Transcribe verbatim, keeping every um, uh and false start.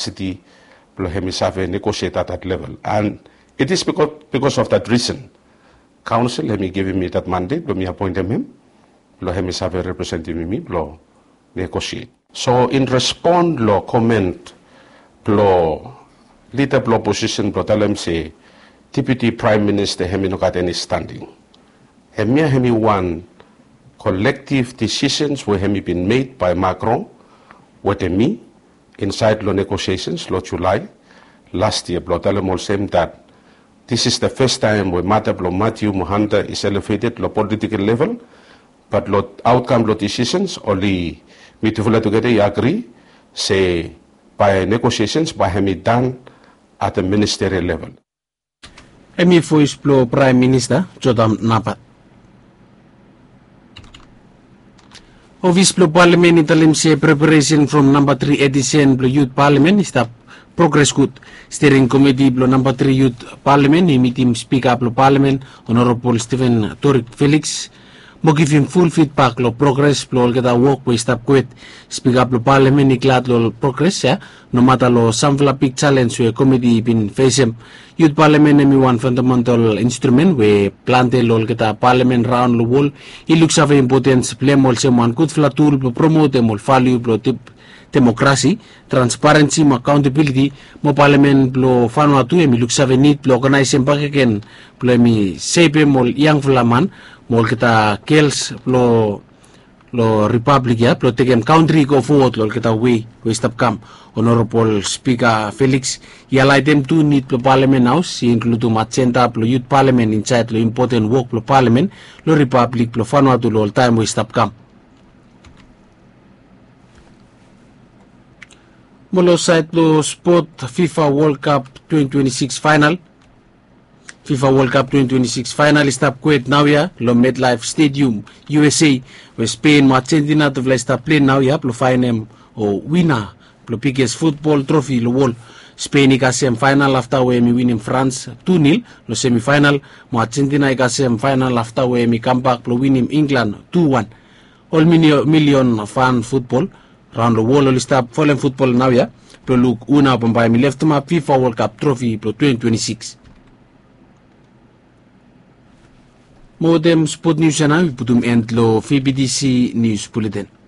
capacity blong hemi save negotiate at that level. And it is because, because of that reason, council hemi givim mi that mandate blong mi appointem him blong hemi save representim mi blong negotiate. So in respond long comment blong leader blong opposition blong talem se Deputy Prime Minister hemi no gat eni standing. Hemia hemi wan collective decisions we hemi bin made by Macron wetem mi inside long negotiations long July last year blong talem olsem that this is the first time we mata blong Matthew Mohanta is elevated long political level, but long outcome long decisions oli mitufala together i agree se by negotiations by hemi done at the ministerial level. Hemi voes blong Prime Minister Jodam Napat. Ofis blong Palamen i talem se preparation from namba tri edisen blong Yut Palamen i stap progres gud. Steering Komiti blong namba tri Yut Palamen i mitim Spika blong Palamen Honorable Stephen Torik Felix mo givim ful fidbak long progres blong olgeta wok we i stap kwet. Spika blong Palamen i glad long progres ya nomata long samfala big challenge we komiti i bin fesem. Yut Palamen hemi wan fundamental instrumen we plante long olgeta palamen raon long wol i luksave impotens blong hem olsem wan gudfala tul blong promotem ol valiu blong demokrasi, transparensi mo akaontabiliti. Mo palamen blong Vanuatu hemi luksave nid blong oganaesem bakegen blong hemi sepem ol yangfala man mo olgeta gels blong long ripablik ya blong tekem kantri i go fowod long olgeta wei we i stap kam. Honorable Spika Felix i hailaetem tu nid blong Palamen Haos i inkludim ajenda blong Yut Palamen insaed long impoten wok blong Palamen long ripablik blong Vanuatu long ol taem we i stap kam. Mo long saed blong spot, FIFA World Cup twenty twenty-six final. FIFA World Cup twenty twenty-six final i stap kwet naoia long MetLife Stadium, U S A, we Spain mo Argentina tufala i stap plei naoia blong faenem o wina blong biges futbol trofi long wol. Spain i kasem final afta we hemi winim France tu nil long semifinal, mo Argentina i kasem final afta we hemi kambak blong winim England tu wan. Ol milion fan futbol raon long wol oli stap folem futbol naoia blong luk hu nao bambae hemi leftemap FIFA World Cup trofi blong twenty twenty-six. Mo wetem spot nius ya nao i putum end long V B T C News Bulletin.